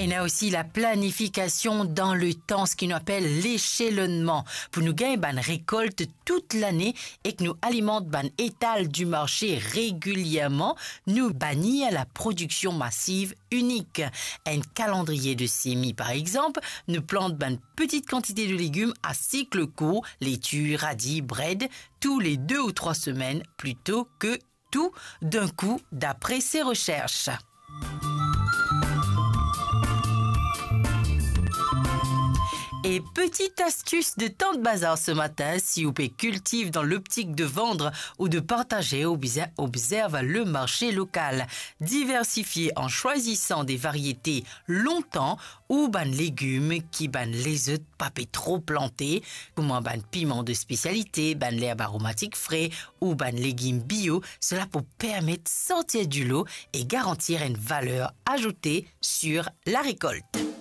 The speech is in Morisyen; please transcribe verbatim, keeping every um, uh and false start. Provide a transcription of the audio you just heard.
Ena osi la planifikasion dan letan, seki nou apel leselonnman, pou nou gagn bann rekolt tout lane ek nou alimant bann etal di marse regilierman, nou banir la prodiksion masiv inik. Enn kalandriye de semi, par exanp, nou plant bann petit kantite de legim a sik kour, leti, radi, bred, tou le de ou trwa semenn, plito ke tou d'in kou, dapre se resers. E petit astis de Tant Bazar se matin, si ou pe kiltiv dan loptik de vann ou de partaze, obze-, obzerv le marse lokal. Diversifie an swazisant de variete lontan ou bann legim ki bann lezot pa pe tro plante, kouma bann piman de spesialite, bann lerb aromatik fre ou bann legim bio, sela pou permet sortir dilo e garantir enn valer azoute sir la rekolt.